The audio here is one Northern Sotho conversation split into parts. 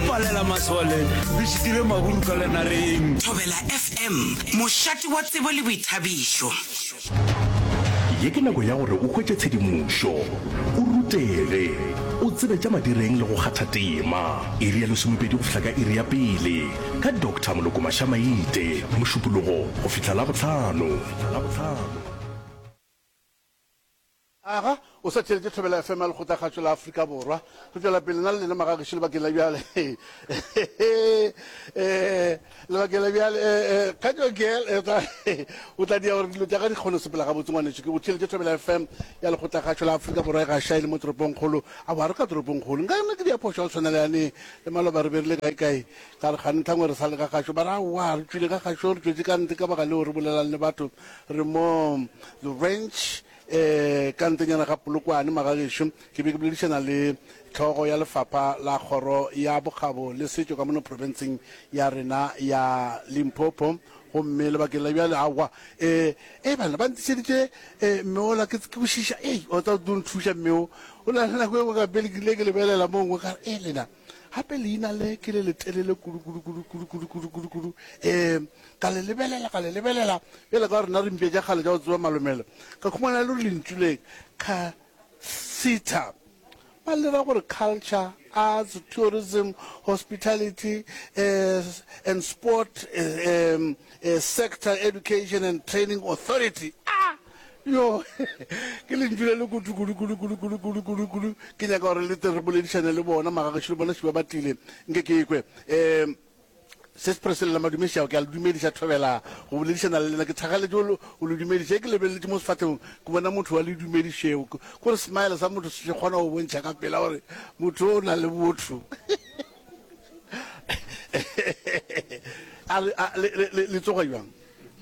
palela masole, re šitile maburu ka lenareng. Thobela FM, mošate wa tsebo le boithabišo. Ye ke nako ya gore o hwetše tshedimošo, o rutege, o tsebe tša madireng le go kgatha tema. Iri ya lesomepedi go fihla ka iri ya pele ka Doctor Moloko Mashamaite, Mošupologo go fihla Labohlano. Aga, o sa theeletše Thobela FM ya Lekgotlakgašo la Afrika Borwa. Re tšwela pele nna le lena magagešo lebakeng la bjale. Eh, lebakeng la bjale, eh, eh, Kgatšo Girl, eh, tla, o tla dia gore dilo tša ka di kgone go sepela gabotse ngwanešu. Ke go theeletše Thobela FM ya Lekgotlakgašo la Afrika Borwa e gaša e le mo toropongkgolo. Aowa, re ka toropongkgolo. Nka nna ke dia phošo ya go tshwana le yane le maloba re be re le kae kae. Ka re kgane ntlhangwe re sa le ka gašo. Ba re aowa, re tšwile ka gašo, re tšwetše ka ntle ka baka leo re bolelang le batho. Re mo The Ranch. E, ka ntlenyana ga Polokwane, magagešo, ke be ke boledišana le hlogo ya lefapha la kgoro ya bokgabo le setšo ka mono profenseng ya rena ya Limpopo. Gomme lebakeng la bjale, aowa, e, e, banna ba ntišeditše e, mme ola, ke, ke kwešiša, ei, o tla tlo nthuša mme o. O na le nako e nngwe ka pele ke ile ke lebelela mo nngwe ka re, e, lena, gape leina le ke le letelele kudu, kudu, kudu, kudu, kudu, kudu, kudu, kudu. E, Ka le lebelela, ka le lebelela, bjale ka rena re mpša tša kgale tša go tseba malomelo, ka khumana e le gore lentšu le, Casita, ba le ra gore Culture, Arts, Tourism, Hospitality and Sport Sector Education and Training Authority. A! Yo, ke lentšu le le kudu, kudu, kudu, kudu, kudu, kudu, kudu, kudu. Ke nyaka gore le tle re boledišane le bona, magagešo le bona šiba ba tlile, nke ke kwe. Um. Sis Priscilla Madumešiago, ke a le dumediša, thobela go boledišana le lena. Ke thakgaletše go go le dumediša. Ge ke lebeleletše mo sefahlengong, ke bona motho wa le dumedišego. Ke gore smile sa motho se kgona go bontšha ka pela gore motho o na le botho. A le, a, le, le, le tsoga bjang?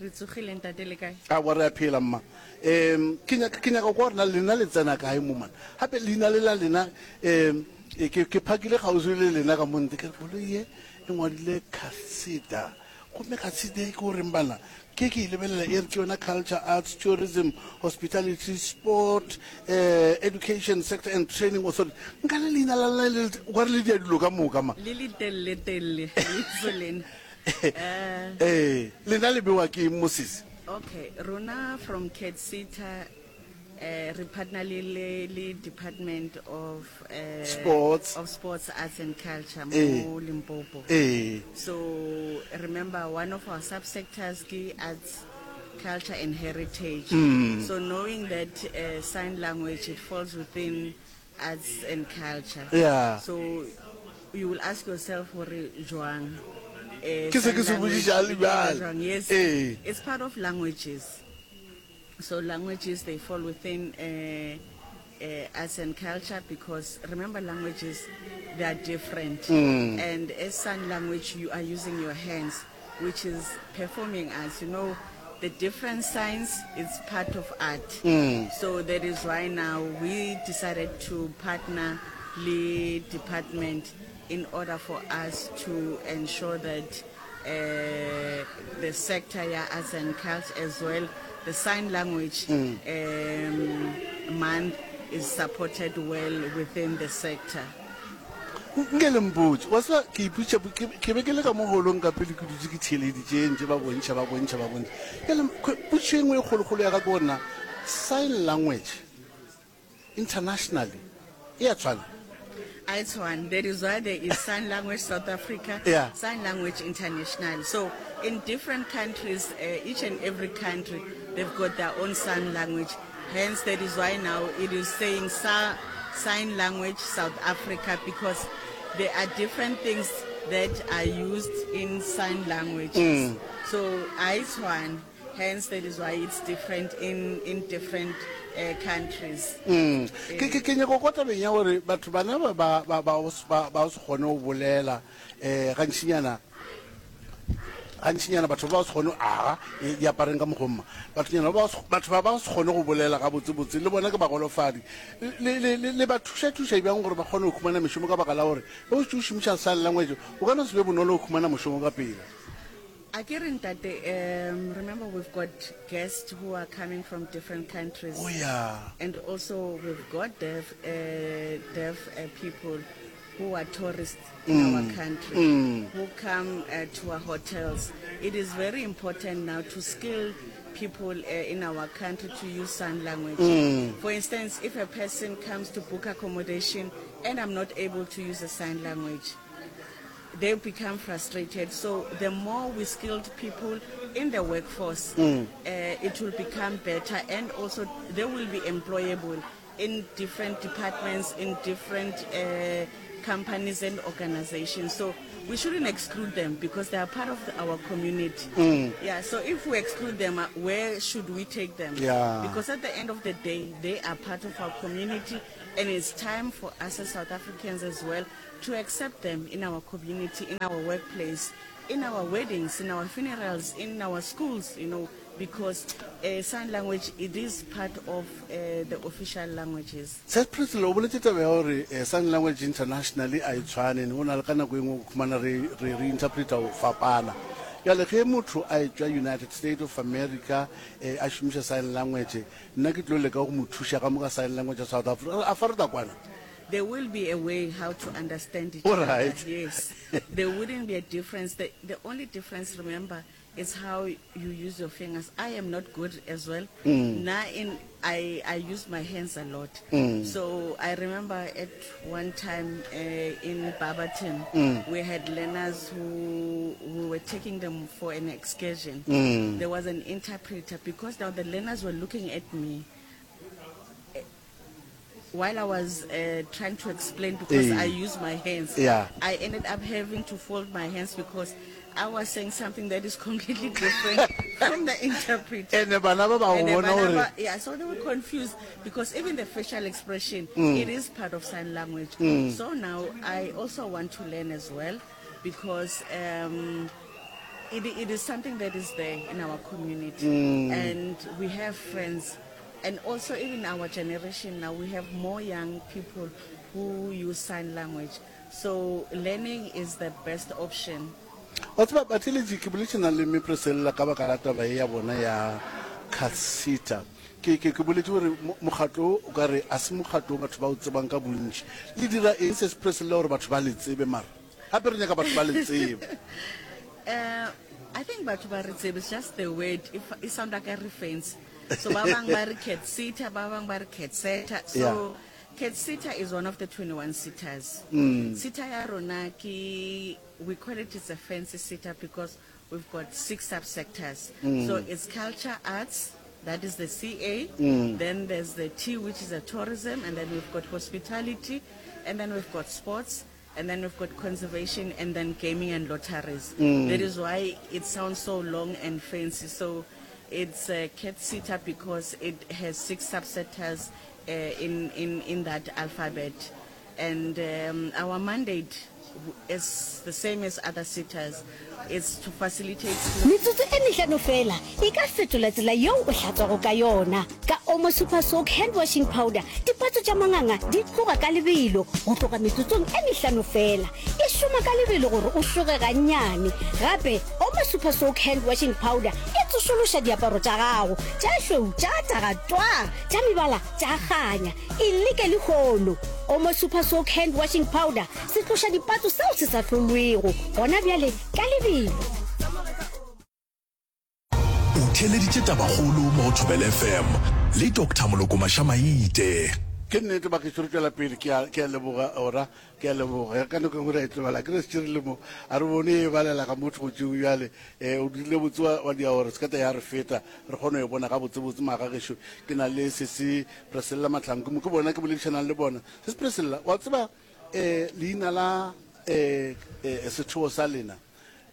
Re tsogile ntate le kae? Aowa re a phela mma. Um ke nyaka ke nyaka go kwa gore na lena le tsena kae mo man. Gape leina le la lena um ke ke phakile kgauswi le lena ka mo ntle ke re koloi ye e ngwadile Casida. Gomme Casida e ke o reng bana? Ke ke e lebelela e re ke yona Culture, Arts, Tourism, Hospitality, Sport, uh, Education Sector and Training Authority. Nka le leina la lena le o ka re le dia dilo ka moka ma. Le le telele telele le lena. Ee, lena le bewa ke eng mo sesi? Okay, rona from CATHSSETA eh, re partner le, le, le Department of eh, Sports. of Sports, Arts and Culture Ee. mo Limpopo. Ee. So remember one of our subsectors ke arts, culture and heritage. Mm. So knowing that uh, sign language it falls within Arts and culture. Yeah. So you will ask yourself gore jwang. Eh, Ke se ke sign se language botšiša le e dira bjale. jwang? Yes. Ee. It's part of languages. So languages they fall within uh, uh, arts and culture because remember languages they are different. Mm. And as sign language you are using your hands which is performing arts. You know the different signs it's part of art. Mm. So that is why now we decided to partner le department in order for us to ensure that uh, the sector ya arts and culture as well the sign language mm. um, month is supported well within the sector. Nke le mpotše, wa tseba, ke ipotšiša, ke, ke be ke le ka mo holong ka pele ke dutše ke theeleditše ntše ba bontšha, ba bontšha, ba bontšha. Bjale, potšišo e nngwe e kgolokgolo ya ka ke gore na sign language internationally e a tshwana? A e tshwane. That is why there is Sign Language South Africa, Yeah. Sign Language International. So in different countries, uh, each and every country, they've got their own sign language. Hence, that is why now it is saying sa Sign Language South Africa because there are different things that are used in sign languages. Mm. So a e tshwane. Hence, that is why it's different in, in different uh, countries. Mm. Ke, ke, ke nyako kwa tabeng ya gore batho bana ba ba ba ba ba ba se kgone go bolela eh gantšinyana Gantšinyana batho ba ba se kgone aga e, diapareng ka mokgomma. Bathonyana ba batho ba ba se kgone go bolela gabotsebotse, le bona ke bagolofadi. Le, le, le, le ba thuša-thuša bjang gore ba kgone go humana mešomo ka baka la gore ge o šetše o šomiša sign language go ka no se be bonolo go humana mošomo ka pela? A ke re ntate, um, remember we've got guests who are coming from different countries. Oh yeah. And also we've got deaf, uh, deaf uh, people. who are tourists in our country, who come uh, to our hotels. It is very important now to skill people uh, in our country to use sign language. For instance, if a person comes to book accommodation and I'm not able to use a sign language, they become frustrated. So the more we skilled people in the workforce, mm. uh, it will become better and also they will be employable in different departments, in different uh, companies and organizations. So we shouldn't exclude them because they are part of the, our community. Mm. Yeah, so if we exclude them, uh, where should we take them? Yeah. Because at the end of the day, they are part of our community and it's time for us as South Africans as well to accept them in our community, in our workplace, in our weddings, in our funerals, in our schools, you know, because uh, sign language, it is part of uh, the official languages. Sir Priscilla, o boletše taba ya gore eh, sign language internationally a e tshwane, go na le ka nako e nngwe o khumana re re re interpreta go fapana. Bjale ge motho a etšwa United States of America eh, a šomiša sign language, nna ke tlo leka go mo thuša ka mo ka sign language ya South Africa, a fa re tla kwana? There will be a way how to understand each All other. right. Yes. There wouldn't be a difference. The, the only difference, remember, is how you use your fingers. I am not good as well. Mm. Now in I, I use my hands a lot. Mm. So I remember at one time uh, in Barberton, mm. we had learners who we were taking them for an excursion. Mm. There was an interpreter because now the learners were looking at me while I was uh, trying to explain because I use my hands, yeah. I ended up having to fold my hands because I was saying something that is completely different from the interpreter. And the bana ba ba yeah, so they were confused because even the facial expression, mm. it is part of sign language. Mm. So now I also want to learn as well because um, it, it is something that is there in our community. Mm. And we have friends And also even our generation now, we have more young people who use sign language. So learning is the best option. Wa tseba, batheeletši, ke boletše na le Mme Priscilla ka baka la taba ye ya bona ya Casita. Ke, ke, ke boletše gore mokgatlo wo o ka re a se mokgatlo wo batho ba o tsebang ka bontši. Le dira eng Sis Priscilla gore batho ba le tsebe mara? Gape re nyaka batho ba le tsebe. Uh, I think batho ba re tsebe, it's just the word, e, e sound like a reference. So ba bang ba re cat sitter, ba bang ba re cat setter. So Yeah. cat sitter is one of the 21 sitters. Mm. Sitter ya rona ke we call it it's a fancy sitter because we've got six subsectors. Mm. So it's culture, arts, that is the CA. Mm. Then there's the T, which is a tourism, and then we've got hospitality, and then we've got sports, and then we've got conservation, and then gaming and lotteries. Mm. That is why it sounds so long and fancy. So it's a cat sitter because it has six subsectors uh, in, in, in that alphabet. And um, our mandate is the same as other sitters. It's to facilitate. Metsotso e mehlano feela e ka fetola tsela yeo o hlatswago ka yona. Ka Omo Super Soak Hand Washing Powder, dipatso tša manganga di tloga ka lebelo go tloga metsotsong e mehlano feela. E šoma ka lebelo gore o šoge gannyane. Gape, Omo Super Soak Hand Washing Powder e tsošološa diaparo tša gago, tša šweu tša taga twaa, tša mebala tša kganya. E leke lehono! Omo Super Soak Hand Washing Powder, setloša dipatso seo se sa hlolwego gona bjale ka lebelo. O theeleditše Tabakgolo mo go Thobela FM le Doctor Moloko Mašamaite. Ke nnete bagešo re tšwela pele ke a ke a leboga ora ke a leboga ka nako e nngwe re a e tlogela ke re šetše re le mo a re bone e balela ga motho go tšeo bjale um o dirile botse wa wa dia gore se ka ta ya re feta re kgone go e bona gabotsebotse magagešo ke na le sesi Priscilla Mahlangu mo ke bona ke boledišanang le bona sesi Priscilla wa tseba um leina la um sethobo sa lena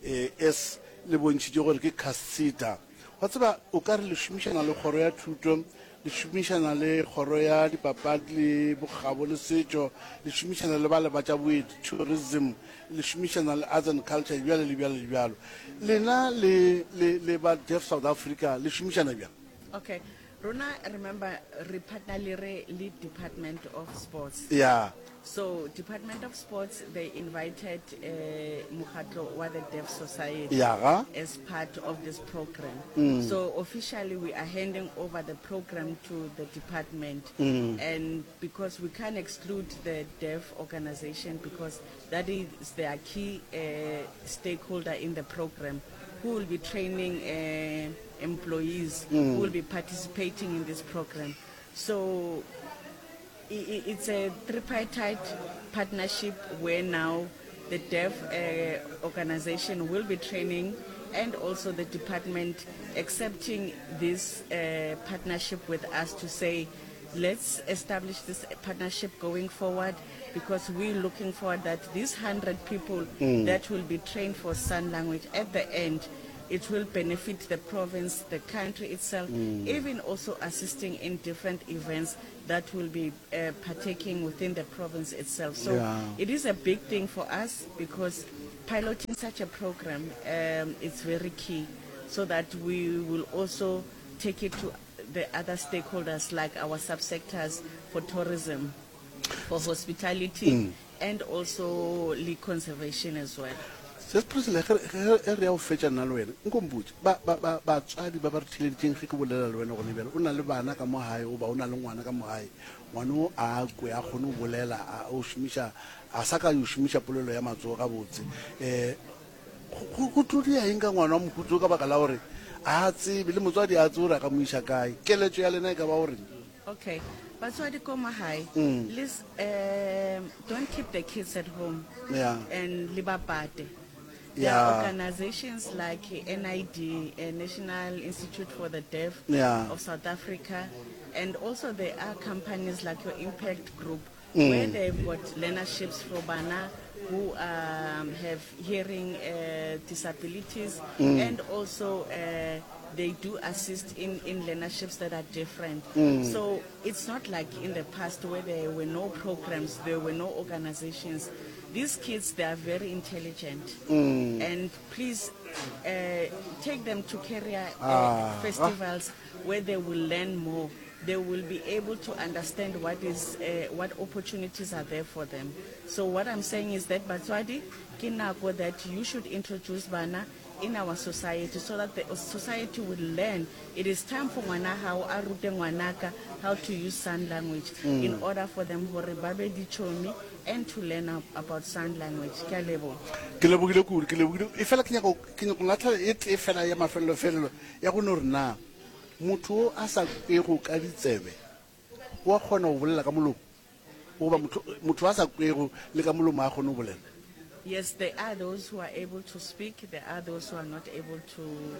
Es le bontšhitše gore ke Casita. Wa tseba, o ka re le šomišana le kgoro ya thuto, le šomišana le kgoro ya dipapadi le bokgabo le setšo, le šomišana le bale ba tša boeti, tourism, le šomišana le arts and culture, bjalo le bjalo le bjalo. Lena le, le, le ba Deaf South Africa le šomišana bjang? Okay. Rona remember re partner le re le Department of Sports. Yeah. So Department of Sports they invited uh, mokgatlo wa the Deaf Society Yeah, ga? as part of this program. Mm. So officially we are handing over the program to the department mm. and because we can't exclude the deaf organization because that is their key uh, stakeholder in the program who will be training uh, employees mm. who will be participating in this program. So it's a tripartite partnership where now the deaf uh, organization will be training and also the department accepting this uh, partnership with us to say let's establish this partnership going forward because we're looking forward that these 100 people mm. that will be trained for sign language at the end it will benefit the province, the country itself, mm. even also assisting in different events that will be uh, partaking within the province itself. So yeah. it is a big thing for us because piloting such a program um, is very key so that we will also take it to the other stakeholders like our subsectors for tourism, for hospitality, mm. and also le conservation as well. Se Priscilla, ge ge re ya go fetša nna le wena, nko mpotše, ba, ba, ba, batswadi ba ba re theeleditšeng ge ke bolela le wena gone bjale, o na le bana ka mo gae goba o na le ngwana ka mo gae, ngwana o a kwe, a kgone go bolela, a, o šomiša, a sa ka yo šomiša polelo ya matsogo gabotse, um go, go, go tlo dia eng ka ngwana wa mohuta o ka baka la gore a tsebe, le motswadi a tsebe gore a ka mo iša kae? Keletšo ya lena e ka ba goreng? Okay, batswadi ko magae, mm. les, um, don't keep the kids at home yeah. and le ba pate. There yeah. are organizations like NID, uh, National Institute for the Deaf yeah. of South Africa, and also there are companies like your Impact Group mm. where they've got learnerships for bana who um, have hearing uh, disabilities mm. and also uh, they do assist in, in learnerships that are different. Mm. So it's not like in the past where there were no programs, there were no organizations. These kids, they are very intelligent. Mm. And please uh, take them to career uh, ah. festivals where they will learn more. They will be able to understand what is uh, what opportunities are there for them. So what I'm saying is that batswadi ke nako that you should introduce bana in our society so that the society will learn. It is time for ngwana hao a rute ngwanaka how to use sign language mm. in order for them hore ba be dichomi and to learn about sign language. Ke a leboga. Ke lebogile kudu, ke lebogile. E fela ke nyaka ke nyaka latlhela e tee fela ya mafelelo felelo ya go no re na motho o a sa kwego ka ditsebe o a kgona go bolela ka molomo goba motho motho a sa kwego le ka molomo a kgone go bolela? Yes, there are those who are able to speak, there are those who are not able to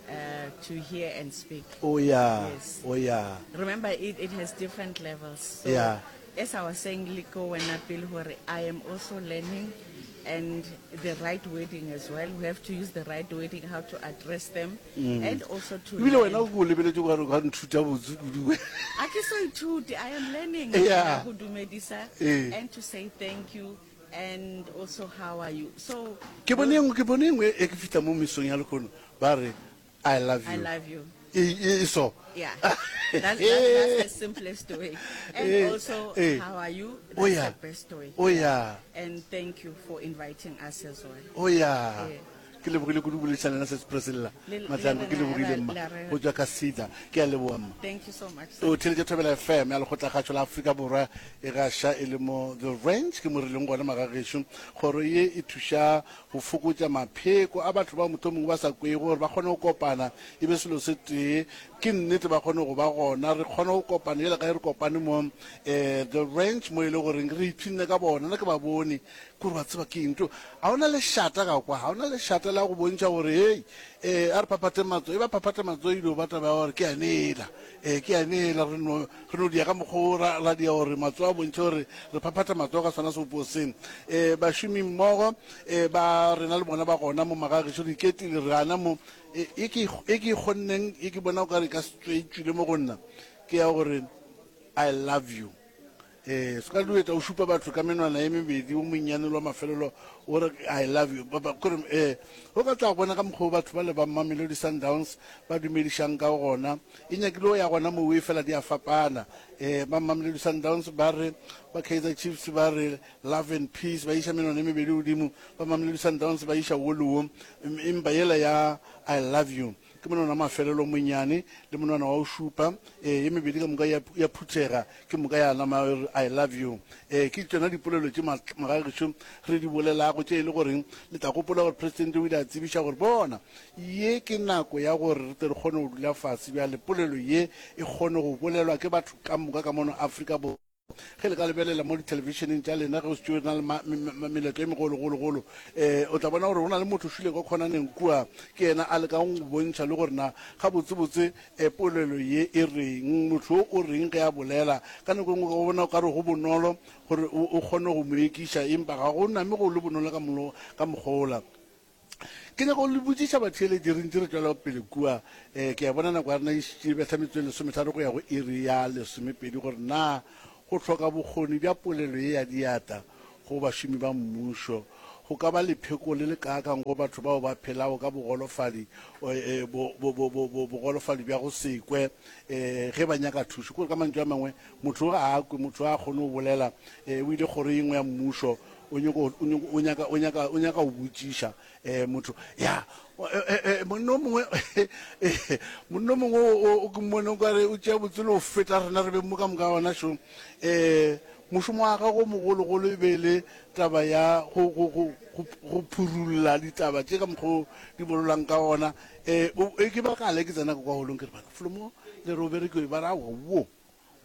uh, to hear and speak. Oh yeah. Yes. Oh yeah. Remember it, it has different levels. So yeah. As I was saying, Liko wena pele hore I am also learning and the right wording as well. We have to use the right wording, how to address them mm. and also to Ebile wena o ko lebeletse o ka nthuta botse kudu. A ke so ithute, I am learning yeah. go dumedisa eh. and to say thank you and also how are you. So ke bone engwe ke bone engwe e ke fitla mo mesong ya lekono ba re I love you. I love you. E, e, so. Yeah. That's, that's, that's the simplest way. And eh, also, eh. how are you? That's oh, yeah. the best way. Oh, yeah. And thank you for inviting us as well. Oh, yeah. yeah. ke lebogile kudu boledišana lena sesi Priscilla Matlango ke lebogile mma go tswa ka sida ke a leboga mma thank you so much o theletše thobela fm ya lekgotlakgašo la afrika borwa e gaša e le mo the range ke mo re leng gona magagešo kgoro ye e thuša go fokotša mapheko a batho bao mohlomongwe ba sa kwego gore ba kgone go kopana e be selo se tee. Ke nnete ba kgone go ba gona, re kgone go kopana bjale ka ge re kopane mo um The Ranch mo e le goreng re ipshinne ka bona. Nna ke ba bone, ke gore wa tseba ke eng to, ga o na lešata ka kwa, ga o na lešata la go bontšha gore hei um a re phaphathe matsogo, e ba phaphatha matsogo e dio ba taba ya gore ke yane ela, um ke yane ela, re no Re no dia ka mokgwa wo ra, ra dia gore matsogo a bontšhe gore re phaphatha matsogo ka sona sebopo se. E, bašomi mmogo e, ba rena le bona ba gona mo magagešo, re iketile, re gana mo. E, e ke, e ke e kgonneng, e ke bona o ka re e ka se tswe e tšwile mo go nna, ke ya gore I love you. Ee, se ka duetsa o šupa batho ka menwana ye mebedi, o monnyane le wa mafelelo, o re I love you. Ba, ba, kore, ee, o ka tla bona ka mokgwa o batho bale ba Mamelodi Sundowns ba dumedišang ka gona. E nyakile o ya gona moo, efela di a fapana. Ee, ba Mamelodi Sundowns ba re, ba Kaizer Chiefs ba re love and peace, ba iša menwana ye mebedi godimo, ba Mamelodi Sundowns ba iša wo le wo, empa yela ya I love you Ke monwana wa mafelelo o monnyane le monwana wa go šupa, ee, ye mebedi ka moka ya, ya phuthega, ke moka ya nama e re, I love you. Ee, ke tšona dipolelo tše magagešo re di bolelago, tše e le goreng le tla gopola gore Presidente o ile a tsebiša gore, bona, ye ke nako ya gore re tle re kgone go dula fase bjale, polelo ye e kgone go bolelwa ke batho ka moka ka mono Afrika Borwa. Ge le ka lebelela mo dithelebišeneng tša lena ge o šetše o na le meletlo e megologologolo, um o tla bona gore go na le motho o šwile ka khonaneng kua, ke yena a lekang go bontšha le gore na gabotsebotse um polelo ye e reng, motho o o reng ge a bolela. Ka nako e nngwe o bona o ka re go bonolo gore o kgone go mo ekiša, empa ga go name go le bonolo ka mokgwa wola. Ke nyaka go le botšiša batheeletši, re ntše re tšwela pele kua, um ke a bona nako ya rena e šetše e betha metsotso e lesometharo go ya go iri ya lesomepedi, gore na go hloka bokgoni bja polelo ye ya diatla go bašomi ba mmušo go ka ba lepheko le le kaakang go batho bao ba phelago ka bogolofadi, bo, bo, bo, bo, bo, bogolofadi bja go se kwe, um ge ba nyaka thušo. Kore ka mantšu a mangwe, motho ga a kwe, motho ga a kgone go bolela, um o ile kgoro ye nngwe ya mmušo, O nyoko, o nyoko, o nyaka, o nyaka, o nyaka go botšiša eh, motho. Ya, eh, eh, monna o mongwe, monna o mongwe o, o ke mmone o kare o tšea botse le go feta rena re beng mo ka moka gona šo. Eh, mošomo wa gagwe o mogologolo e be e le taba ya go, go, go, go, go phurulla ditaba tše ka mokgwa o di bolelwang ka gona. Eh, o, e ke ba kgale ke tsena ka kwa holong ke re bana, folomo le re o berekiwe ba re aowa, wo.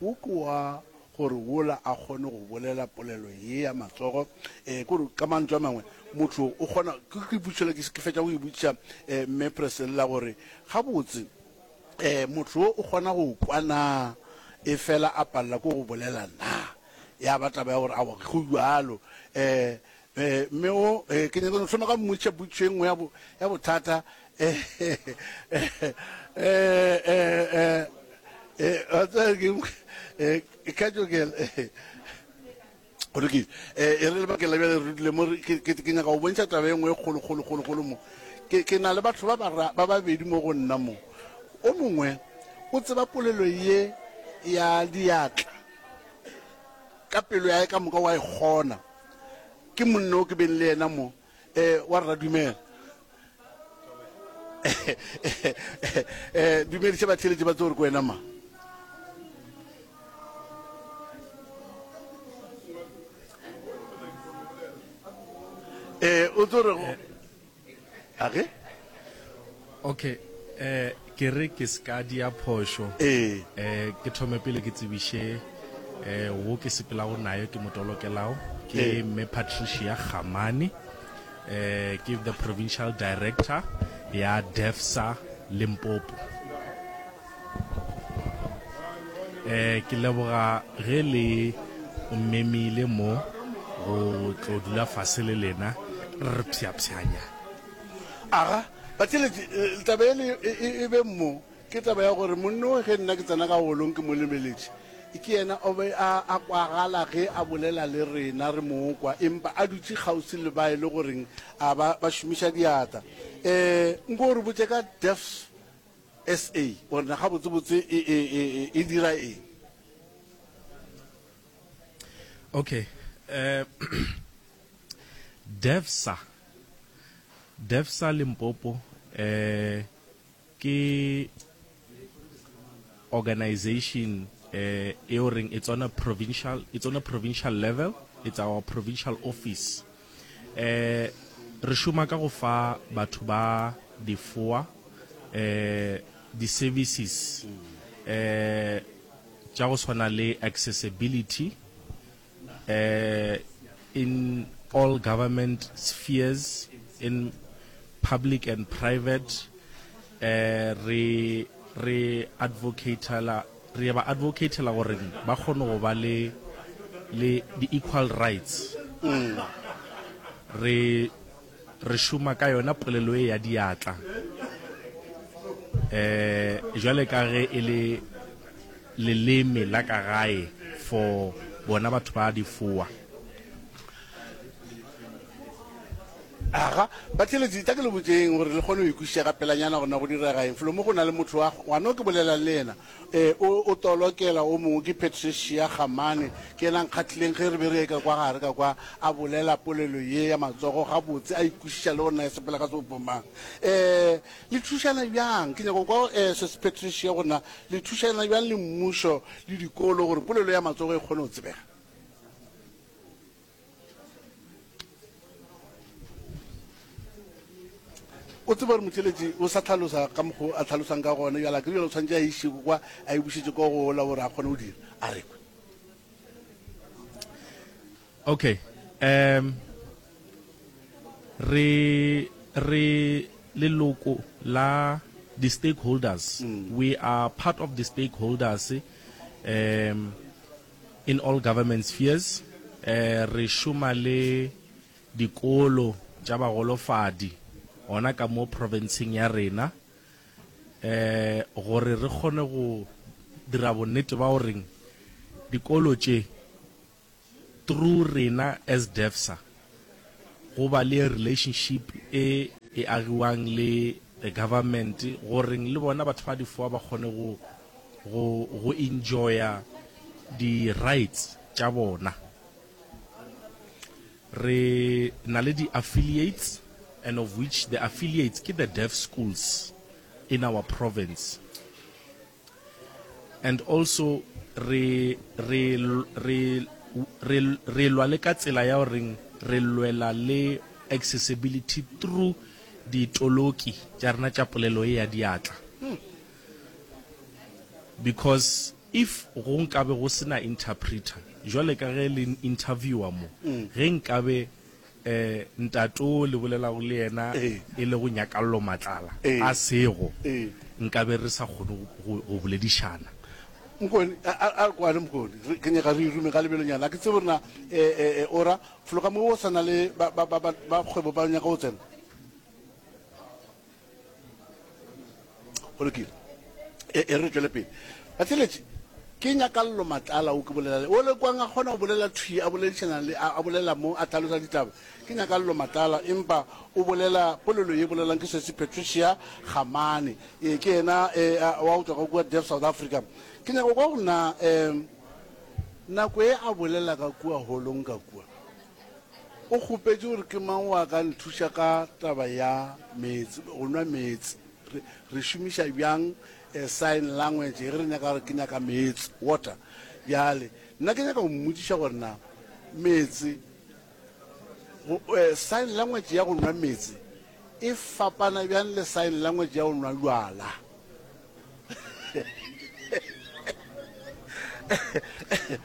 Wo ke wa gore wola a kgone go bolela polelo ye ya matsogo. E, ke gore ka mantšu a mangwe, motho o kgona, ke, ke potšišo le ke, ke fetša go e botšiša e, Mme Priscilla gore, gabotse, e, motho wo o kgona go kwa na, efela a palela ke go bolela na? Ya ba taba ya gore, aowa, go bjalo. E, Eh, mme o, eh, ke nyaka go thoma ka mmotšiša potšišo e nngwe ya bo, ya bothata. Eh, eh, eh, eh, eh, wa tseba ke, eh, Katjokela, eh, go lokile. Eh, e re lebakeng la bjale re dule mo, re- ke, ke, ke nyaka go bontšha taba e nngwe e kgolo, kgolo, kgolo, kgolo mo. Ke, ke na le batho ba bara, ba babedi mo go nna mo. O mongwe o tseba polelo ye ya diatla ka pelo ya hae ka moka, wa e kgona. Ke monna o ke beng le yena mo. Eh, wa rra dumela. Eh, dumediša batheeletši ba tsebe gore ke wena mang. Eh, o tlo re A ge? Okay, eh, ke re ke se ka dia phošo. Ee. Eh, ke thome pele ke tsebiše eh, wo ke sepelago nayo ke mo tolokelago ke Ee. Mme Patricia Kgamane, eh, ke the provincial director ya DeafSA Limpopo. Eh, ke leboga ge le mmemile mo go tlo dula fase le lena re pshapshanya. Aga, batheeletši, eh, taba ele e, e, e be mo, ke taba ya gore monna o ge nna ke tsena ka holong ke mo lebeletše, ke yena o be a, a kwagala ge a bolela le rena re mo kwa, empa a dutše kgauswi le ba e le goreng a ba, ba šomiša diatla. Eh, nko o re botše ka Deafs SA, gore na gabotsebotse e, e, e, e, e dira eng? Okay. Eh, DeafSA, DeafSA Limpopo eh, ke organization eh, e o reng it's on a provincial, it's on a provincial level, it's our provincial office. Eh, re šoma ka go fa batho ba difoa eh, di-services eh, tša go swana le accessibility eh, in all government spheres, in public and private. Eh, re, re advocatela, re ba advocatela gore ba kgone go ba le, le di-equal rights. Re, re šoma ka yona polelo e ya diatla. Eh, jwale ka ge e le leleme la ka gae for bona batho ba difoa. Aga, batheeletši, tla ke le botšeng gore le kgone go ikwešiša ka pelanyana gore na go direga eng. Felo mo go na le motho wa, ngwana o ke bolelang le yena, e, o, o tolokela o mongwe, ke Patricia Gamane, ke yena a nkgahlileng ge re be re ye ka kwa gare ka kwa, a bolela polelo ye ya matsogo gabotse, a ikwešiša le gore na e sepela ka sebopo mang. E, le thušana bjang? Ke nyaka go kwa, e, Sesi Patricia gore na le thušana bjang le mmušo le dikolo gore polelo ya matsogo e kgone go tsebega. O tseba gore motheeletši o sa hlalosa ka mokgo a hlalosang ka gona, bjale a ke re bjale o tshwanetše a iše kwa, a e bušetše kwa go ola gore a kgone go dira. A re kwe. Okay, um re re leloko la di-stakeholders, mm. we are part of the stakeholders um In all government spheres, re šoma le dikolo tša bagolofadi gona ka mo profenseng ya rena gore re kgone go dira bonnete ba goreng dikolo tše through rena as DeafSA go ba le relationship e e agiwang le the government goreng le bona batho ba difoa ba kgone go go go enjoya di rights tša bona. Re na le di affiliates and of which the affiliates ke the deaf schools in our province. And also re re re re re lwa le ka tsela ya goreng re lwela le accessibility through ditoloki tša rena tša polelo e ya diatla. Because if go nkabe go se na interpreter, jwale ka ge le interviewer mo, ge nkabe eh ntate o le bolelago le yena e le go Nyakallo Matlala a sego, nkabe re sa kgone go go boledišana. Mokone, a a re kwane Mokone, re ke nyaka re irume ka lebelonyana. A ke tsebe gore na eh eh ora fologa mo o sa na le ba ba ba ba kgwebo ba nyaka go tsena. Go lokile. E, e re tšwele pele. Batheeletši, ke Nyakallo Matlala o ke bolela le. O le kwang a kgona go bolela thwi, a boledišana le, a, a bolela mo, a hlalosa ditaba. Ke Nyakallo Matlala, empa o bolela polelo ye bolelang ke Sesi Patricia Gamane. E, ke yena e, a, wa go tšwa ka kua Deaf South Africa. Ke nyaka go kwa gore na, um, nako e a bolela ka kua holong ka kua, O kgopetše gore ke mang wa ka nthuša ka taba ya meetse, go nwa meetse. Re, re šomiša bjang eh, sign language ge re nyaka gore ke nyaka meetse, water. Bjale, nna ke nyaka go mmotšiša gore na meetse, go, eh, sign language ya go nwa meetse e fapana bjang le sign language ya go nwa bjala?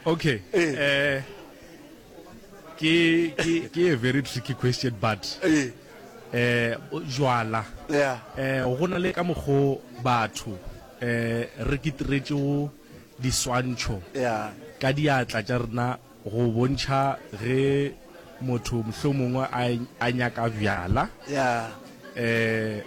Okay. Eh ke ke ke a very tricky question but eh eh jwala yeah eh go na le ka mokgo batho eh re kitiretšego diswantšho yeah ka diatla tša rena Go bontšha ge motho mohlomongwe a, a nyaka bjala. Yeah. Eh,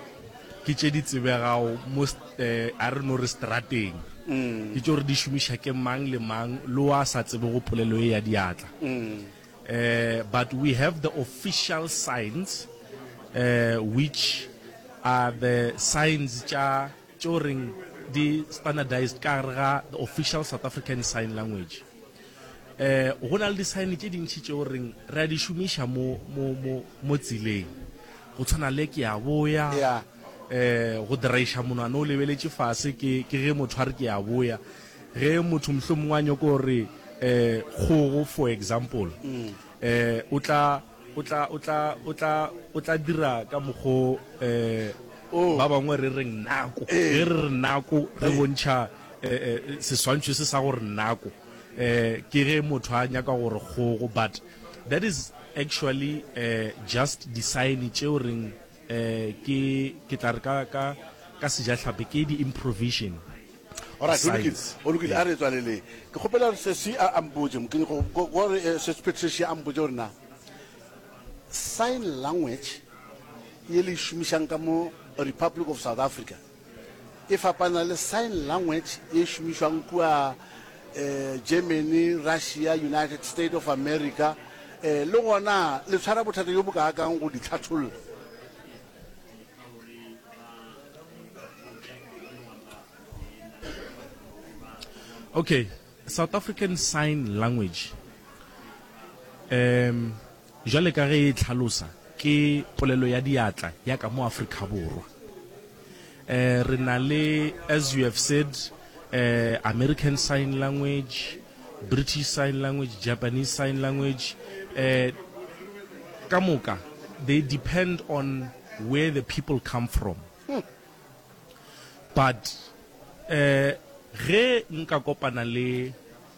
ke tše di tsebegago mo, eh, a re no re strateng. Mm. Ke tšeo re di šomiša ke mang le mang, le wa sa tsebego polelo ye ya diatla. Mm. Eh, but we have the official signs, eh, which are the signs tša, tšeo reng di standardized ka gare ga the official South African Sign Language. Eh, go na le di-sign tše dintši tšeo reng re a di šomiša mo, mo, mo, mo tseleng. Go tshwana le ke a boya, Yeah. eh, go draiša monwana o lebeletše fase ke, ke ge motho a re ke a boya. Ge motho mohlomongwe a nyoko gore eh, kgogo for example, eh, o tla, o tla, o tla, o tla, o tla dira ka mokgo eh, Oh. ba bangwe re reng nako. Eh. Ge re re nako re bontšha eh, eh, seswantšho se sa gore nako. Eh, ke ge motho a nyaka gore kgogo, but that is actually eh, just di-sign tšeo reng eh, ke, ke tla re ka, ka, ka sejahlapi ke di-improvision Alright, go lokile, signs. go lokile, a re tswaleleng. Ke kgopela gore sesi a, a mpotše, ke nyaka go, gore eh, sesi Patricia a mpotše gore na sign language ye le e šomišang ka mo Republic of South Africa e fapana le sign language ye e šomišwang kua eh, Germany, Russia, United State of America, eh, le gona le tshwara bothata bjo bokaakang go di hlatholla? Okay, South African Sign Language um jwale ka ge e tlhalosa ke polelo ya diatla ya ka mo Afrika Borwa. Eh re na le as you have said eh American Sign Language, British Sign Language, Japanese Sign Language eh ka moka they depend on where the people come from. But eh ge nka kopana le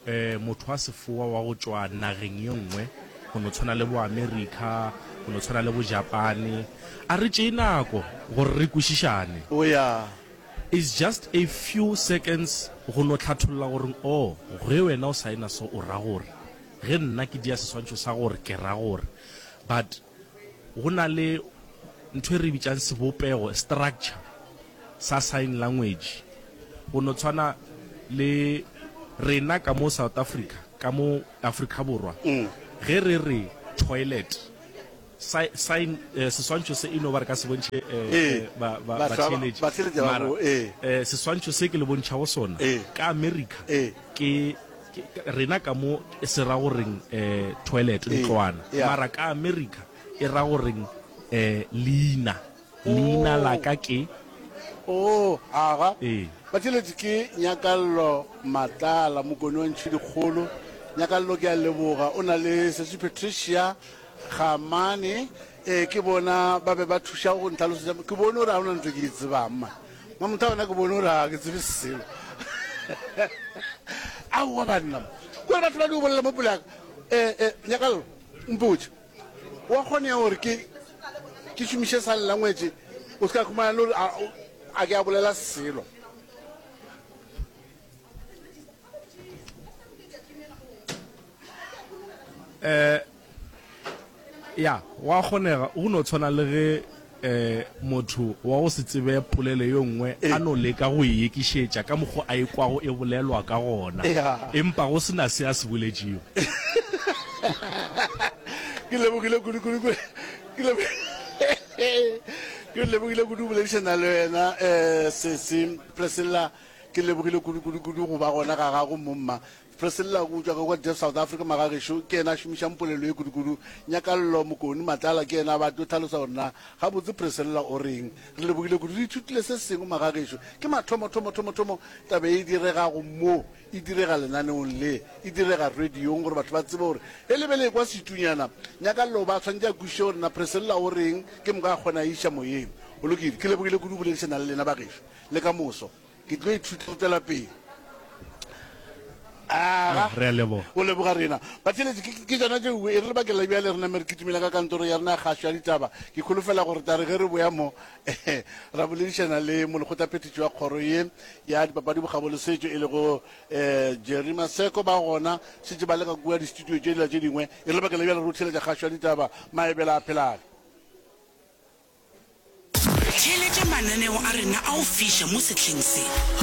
eh motho wa sefoa wa go tšwa nageng ye nngwe go no tshwana le bo America, go no tshwana le bo Japane, a re tšee nako gore re kwešišane. Oh ya. It's just a few seconds go no hlatholla gore oh ge wena o saena so o ra gore, ge nna ke dia seswantšho sa gore ke ra gore. But Go na le ntho e re bitšang sebopego, structure, sa sign language. Go no tshwana le rena ka mo South Africa, ka mo Afrika Borwa, ge re re toilet, sign, seswantšho se e no ba re ka se bontšhe ba, ba, batheeletši, mara seswantšho se ke le bontšhago sona ka America ke Rena ka mo se ra goreng toilet, ntlwana, mara ka America e ra goreng leina, leina la ka ke. Oh, aga. Batheeletši ke Nyakallo Matlala, Mokone wa Ntšhidikgolo. Nyakallo ke a leboga. O na le Sesi Patricia Gamane, ee ke bona ba be ba thuša go ntlhalosetša. Ke bone gore ga gona ntho e ke e tsebang man. Mamotha gona ke bone gore ga ke tsebe selo. Aowa banna, kore batho ba di bolela mo pele ya ka. Eh, eh, Nyakallo, mpotše, wa kgonega gore ke ke šomiše sign language o se ka khumana le gore a ke a bolela selo? Eh, Ya, go a kgonega. Go no tshwana le ge eh, motho wa go se tsebe polelo ye nngwe a no leka go e ekišetša ka mokgo a e kwago e bolelwa ka gona, empa go se na se a se boletšego. Ke lebogile kudu kudu kudu. Ke lebo Ke lebogile kudu go boledišana le wena eh, sesi Priscilla. Ke lebogile kudu kudu kudu go ba gona ga gago mo mma. Priscilla o tšwa ka kwa Deaf South Africa magagešo, ke yena a šomišang polelo ye kudukudu. Nyakallo Mokoni Matlala ke yena a ba tlo hlalosa gore na gabotse Priscilla o reng. Re lebogile kudu, re ithutile se sengwe magagešo. Ke mathomo thomo thomo thomo taba ye e diregago mo, e direga lenaneong le, e direga radiong gore batho ba tsebe gore ge le be le ekwa setunyana, Nyakallo o ba swanetše a kwešiše gore na Priscilla o reng, ke moka a kgone a e iša moyeng. Go lokile, ke lebogile kudu go boledišana le lena bagešo. Le ka moso. Ke tlo ithuta go tšwela pele. Aga. Re a leboga. O leboga rena. Batheeletši, ke, ke tšona tšeo e re lebakeng la bjale re name re kitimela ka kantoro ya rena ya kgašo ya ditaba. Ke kholofela gore tla re ge re boya mo, ra boledišana le molekgotlaphethiši wa kgoro ye ya dipapadi, bokgabo le setšo e lego eh, Jerry Maseko. Ba gona šetše ba le ka kua di-studio tše dila tše dingwe. E re lebakeng la bjale re o theeletša kgašo ya ditaba. Maebela a phelane. Theeletša mananeo a rena a go fiša mo sehleng se.